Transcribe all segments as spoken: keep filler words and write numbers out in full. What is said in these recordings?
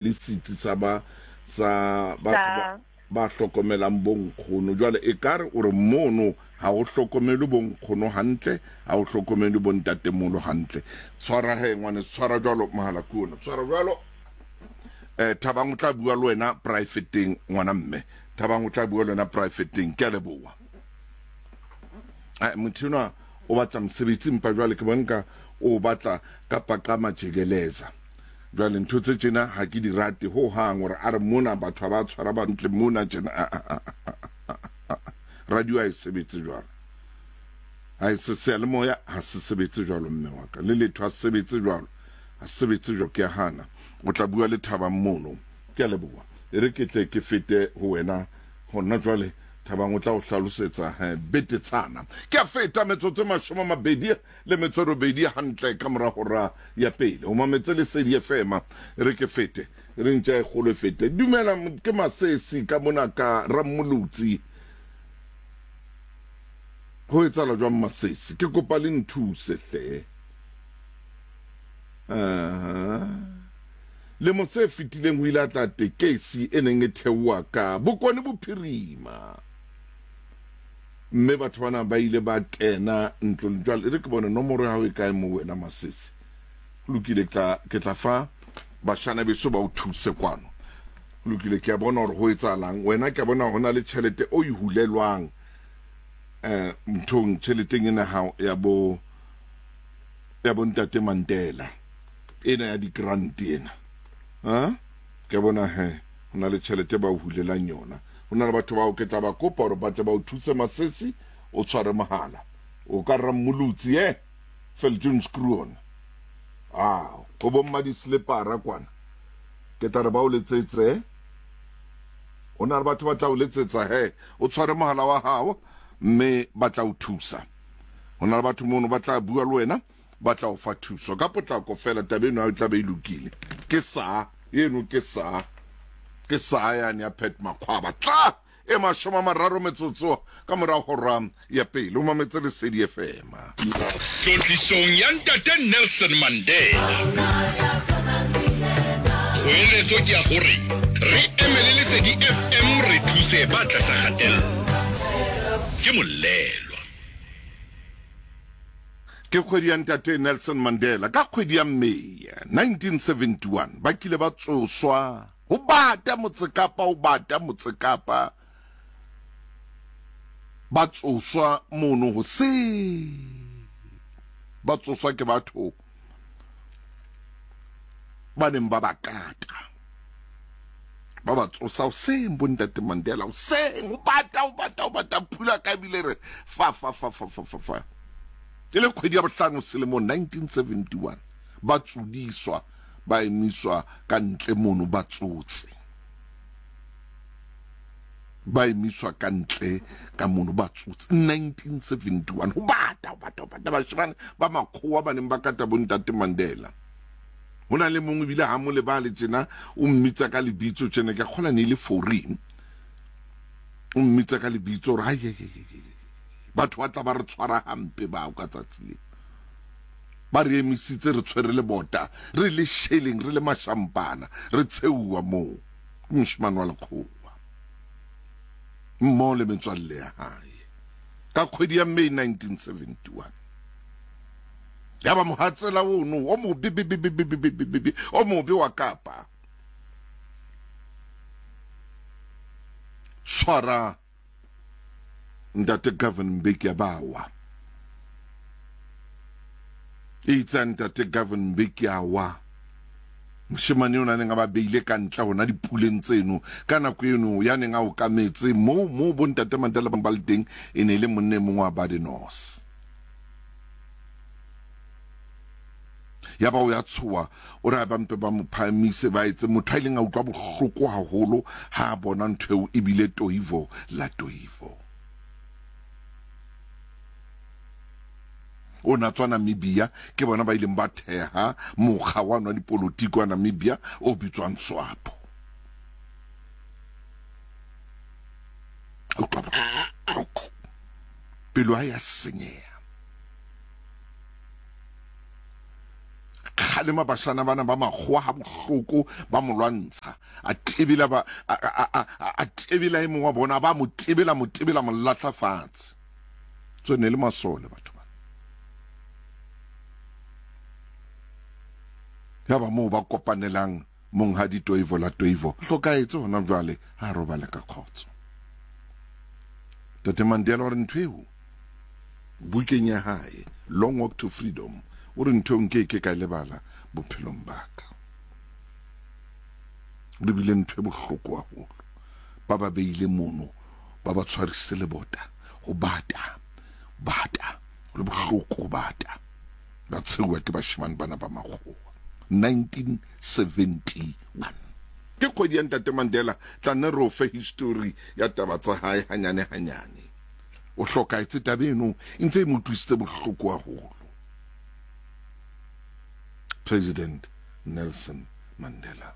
Le setsi sa ba sa batho ba ba hlokomelang bonkgono. Jwale ekare o re mono ha o hlokomelwe bonkgono hantle, ha o hlokomelwe bontatemoholo hantle. Tshwara he ngwaneso, tshwara jwalo mohala ke ona, tshwara jwalo. Eh, Thabang o tla bua le wena private-eng ngwana mme. Thabang o tla bua le wena private-eng. Ke a leboha. Eh, motho enwa o batla mosebetsi empa jwale ke bona o batla ka paqama jekeleza. Jwale ntho tse tjena ha ke di rate ho hang, hore a re mona batho ha ba tshwara bantle mona tjena. Radio ha e sebetse jwalo, ha e se seyalemoya ha se sebetse jwalo, mme wa ka le letho ha se sebetse jwalo, ha se sebetse jwalo. Ke a hana. O tla bua le Thabang mono. Ke a leboha. E re ke tle ke fete ho wena hona jwale. Thabang o tla o hlalosetsa betetshana. Ke a feta metsotso e mashome a mabedi le metso e robedi hantle ka mora hora ya pele. O mametse Lesedi F M. E re ke fete, e re ntja e kgolo e fete. Dumela, ke Masesi ka mona ka Rammolotsi. Ho etsahala jwang Masesi? Ke kopa le nthuse hle. Aha. Lemo se fetileng ho ile a tla tekesi e neng e theoha ka Bokone Bophirima, mme batho bana ba ile ba kena ntlong. Jwale e re ke bone nomoro ya hao e kae mo wena Masesi. Ho lokile, ke tla ke tla fa bashana beso ba o thuse kwano. Ho lokile, ke a bona hore ho etsahalang. Wena ke a bona ho na le tjhelete o e hulelwang eh nthong, tjheleteng ena hao ya bo ya bo ntate Mandela ena ya di-grant ena. Ha ke bona he ho na le tjhelete ba o hulelang yona. Ho na le batho bao ke tla ba kopa hore ba tle ba o thuse Masesi. O tshware mohala o ka Rammolotsi e Viljoenskroon. Ah, ho bomma di-slepara kwana, ke tla re ba o letsetse. Ho na le batho ba tla o letsetsa he, o tshware mohala wa hao mme ba tla o thusa. Ho na le batho mono ba tla bua le wena, ba tla o fa thuso ka potlako fela. Taba eno e tla be e lokile. Ke sa eno, ke sa ke sa yane ya Pat Makgwaba. Tla e mashome a mararo metsotso ka mora hora ya pele. O mametse Lesedi F M. Tlotlisong ya ntate Nelson Mandela. Kgoeletso ke ya hore re emele Lesedi F M, re thuse ba tlasa kgatello. Ke Molelwa. Ke kgwedi ya ntate Nelson Mandela. Ka kgwedi ya May nineteen seventy-one ba kile ba tsoswa ho bata Motsekapa, ho bata Motsekapa. Ba tsoswa mono hoseng, ba tsoswa ke batho ba neng ba ba kata. Ba ba tsosa hoseng bo ntate Mandela hoseng, ho bata, ho bata, ho bata, phula ka ebile re fa, fa, fa, fa, fa, fa, fa. E le kgwedi ya bohlano selemong nineteen seventy-one, ba tsodiswa, ba emiswa ka ntle mono, ba tsotse. Ba emiswa ka ntle ka mono, ba tsotse. nineteen seventy-one, ho bata, ho bata, ho bata, bashemane ba makgowa ba neng ba kata bo ntate Mandela. Ho na le mongwe ebile ha mo lebale tjena, o mmitsa ka lebitso tjena, ke a kgolwa ne e le Foreign. O mmitsa ka lebitso hore, ai, ai, ai, ai, ai. Batho ba tla ba re tshwara hampe bao ka tsatsi leo. Ba re emisitse re tshwere lebota, re le sheleng, re le mashampana, re tsheuwa moo. Ke moshemane wa lekgowa mmoho le metswalle ya hae. Ka kgwedi ya May nineteen seventy-one. Ya ba mohatsela ono o mobe, be, be, be, be, be, be, be, be, be, o mobe wa Kapa. Tshwara ntate Govan Mbeki a ba wa. Itse ntate Govan Mbeki a wa. Moshemane o neng a ba beile ka ntle hona dipuleng tseno. Ka nako eno ya neng a okametse moo, moo bo ntate Mandela ba le teng, e ne e le monna e mongwe wa Badenos. Ya ba o ya tshoha, o re a ba mpe ba mo phahamise, ba etse motho a ileng a utlwa bohloko haholo ha a bona ntho eo ebile Toivo la Toivo. O na tswa Namibia, ke bona ba ileng ba theha mokga wa nwa dipolotiki wa Namibia o bitswang SWAPO. Utlwa bohloko. Pelo ha ya senyeha. kgalema bashana bana ba makgowa ha bohloko, ba mo lwantsha. A tebela ba a a a tebela e mongwe wa bona, ba mo tebela mo tebela mo lahla fatshe. Tswe ne le masole batho ba. Ya ba moo ba kopanelang monghadi Toivo la Toivo. Hlokaetse hona jwale ha robale ka kgotso. Tate Mandela o re ntho eo bukeng ya hae Long Walk to Freedom, o re ntho nke ke ka lebala bophelong ba ka. Le bile ntho e bohloko haholo. Ba ba beile mono, ba ba tshwarisitse lebota, ho bata, bata, le bohloko ho bata. Ba tshehuwa ke bashemane bana ba makgowa. nineteen seventy-one. Ke kgwedi ya Ntate Mandela, tla nne re o fe history ya taba tsa hae hanyane hanyane. O hlokaetse taba eno e ntse e mo utlwisitse bohloko haholo. President Nelson Mandela.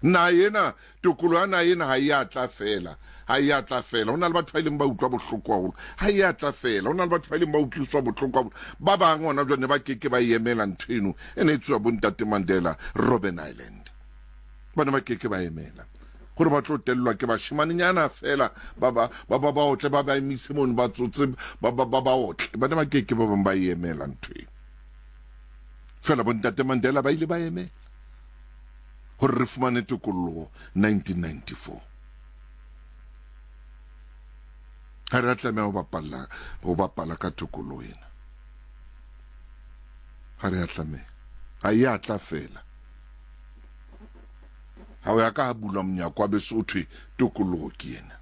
Na ena tokolo ya na ena ha e a tla fela, ha e a tla fela. Ho na le batho ba ileng ba utlwa bohloko haholo, ha e a tla fela. Ho na le batho ba ileng ba utlwiswa bohloko haholo. Ba bang hona jwale ba keke ba emela ntho eno e ne e tswa bo Ntate Mandela Robben Island. Ba ne ba keke ba emela hore ba tlo tellwa ke bashimanenyana fela ba ba ba ba ba otle ba ba emise mono ba tsotse ba ba ba ba otle. Ba ne ba keke ba bang ba emela ntho eno. Fela bo Ntate Mandela ba ile ba emela hore re fumane tokolloho nineteen ninety-four. Ha re a tlameha ho bapalla, ho bapala ka tokolloho ena. Ha re a tlameha. Ha e a tla fela. Ha o ya ka ha bulwa monyako wa beso ho thwe tokolloho ke ena.